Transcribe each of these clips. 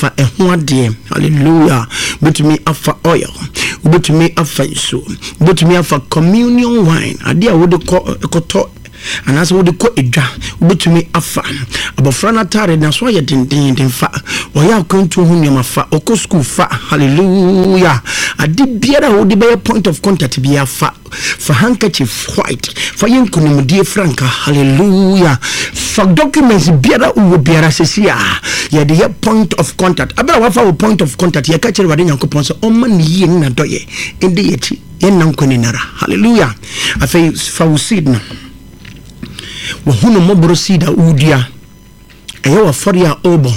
Fa ɛho adeɛ. Hallelujah. Wobɛtumi afa oil, wobɛtumi afa nsuo, wobɛtumi afa communion wine, adeɛ a wode kɔ kɔtɔ anaasɛ wode kɔ edwa, wobɛtumi afa. Abɔfra no ataare naso ayɛ dendenden fa, ɔyɛ akwantuo ho nneɛma fa, ɔkɔ sukuu fa. Hallelujah. Ade biara a wode bɛyɛ point of contact biara fa. Fa handkerchief white fa yɛ nkonimdie franka. Hallelujah. Fa documents biara wowɔ biara sɛsi a yɛde yɛ point of contact. Abere a wafa wo point of contact, yɛka kyerɛ Awurade Nyankopɔn sɛ ɔmma ne yie ne n'adɔyɛ ɛndi yɛkyi yɛnna nkwa nyinara. Hallelujah. Afei fa wo seed no, wahunu mmɔborɔ seed a wodua, ɛyɛ w'afɔre a ɔrebɔ,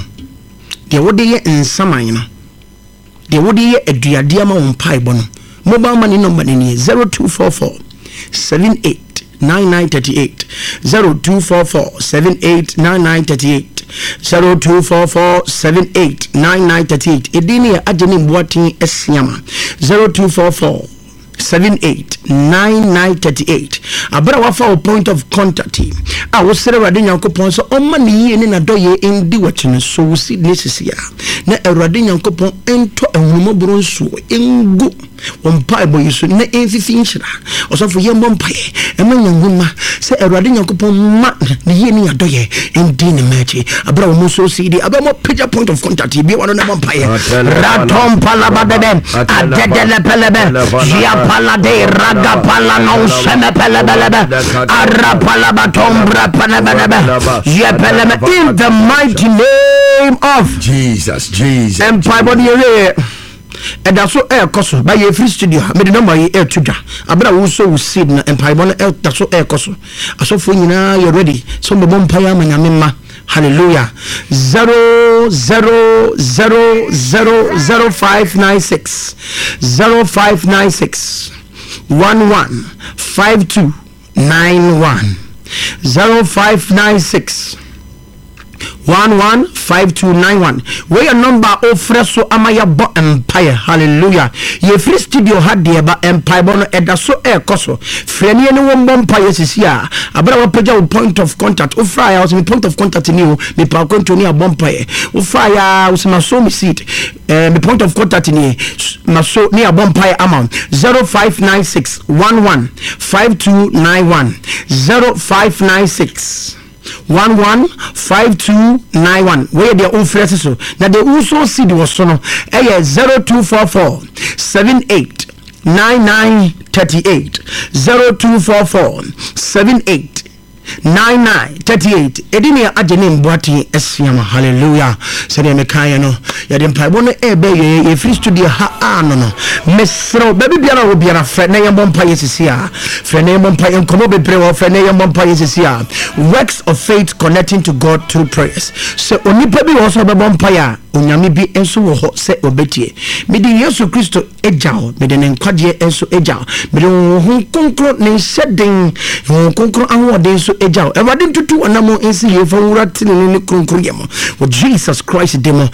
deɛ wode yɛ nsaman no, deɛ wode yɛ aduadeɛ ama wo mpaebɔ no. Mobile money number no nie: 0244 78 9938, 0244 78 9938, 0244 78 9938. Ɛdin no yɛ Agye ne Mboaten Asiama. 0244 78 9938. Abere a wafa wo point of contact yi a wosrɛ Awurade Nyankopɔn sɛ ɔmma ne yie ne n'adɔyɛ ndi w'akyi no so, wo seed ne sisi a na Awurade Nyankopɔn ntɔ ahunumɔborɔ nsuo ngu wɔn mpaebɔ yi so na ɛmfifi nhyira. Ɔsɔfo, yɛmmɔ mpaeɛ ɛma Nyame sɛ Awurade Nyankopɔn ma ne yie ne yɛadɔyɛ ndi ne mma akyi aberɛ a wɔn nso si di aberɛ a wɔapagya point of contact yi bia wɔn no bɔ mpaeɛ ratom palabadɛdɛ adɛdɛlɛpɛlɛbɛ ziapalade ragapala no sɛmɛpɛlɛbɛlɛbɛ arapalabatom brapɛlɛbɛlɛbɛ yɛpɛlɛmɛ, in the mighty name of Jesus, Jesus. Mpaebɔ no yɛwieɛ, ɛda so ɛrekɔ so ba. Yɛfiri studio ha, mede number yi ɛreto dwa. Abere a wosɔ wo seed na mpaebɔ no ɛda so ɛrekɔ so, asɔfoɔ nyinaa yɛ ready sɛ wɔbɛbɔ mpaeɛ ama Nyame mma. Hallelujah. 0 0 0 0 0 5 9 6, 0596 115291, 0596 115291. Wei yɛ number a ofrɛ so ama yɛbɔ mpaeɛ. Hallelujah. Yɛfiri studio ha deɛ ba, mpaebɔ no ɛda so ɛrekɔ so. Frɛ ne yɛne wɔn bɔ mpaeɛ sisi a abere a wapagya wo point of contact. Wofra a, wɔsɛ me point of contact ni o, mepa akwantuo ne abɔ mpaeɛ. Wofra a, wɔsɛ maso me seed, me point of contact ni, maso ne abɔ mpaeɛ ama. 0596 115291, 0596 115291. Wɔyɛ deɛ wofrɛ si so, na deɛ wosɔ seed wɔ so no ɛyɛ 0244 78 9938, 0244 78 9938. Ɛdi ne Agye ne Mboaten Asiama. Hallelujah. Sɛdeɛ mekaeɛ no, yɛde mpaebɔ no ɛbɛ yɛ. Yɛfiri studio ha a no, mesrɛ wo, baabi biara wɔ biara, frɛ na yɛmmɔ mpa yɛ sisi a. Frɛ na yɛmmɔ mpa yɛ, nkɔmmɔ bebree wɔ. Frɛ na yɛmmɔ mpa yɛ sisi a. Works of faith, connecting to God through prayers. Sɛ onipa bi wɔ hɔ sɛ ɔbɛbɔ mpa yɛ a, Onyame bi nso wɔ hɔ sɛ ɔbɛtie. Mede Yesu Kristo agya wo, mede ne nkwagyeɛ nso agya wo, mede Honhom Kronkron ne nhyɛ den, Honhom Kronkron ahoɔden nso agya wo. Awurade ntutu ɔnam nsi yie fa nwura tenene ne kronkron yɛ mu wɔ Jesus Christ din mu.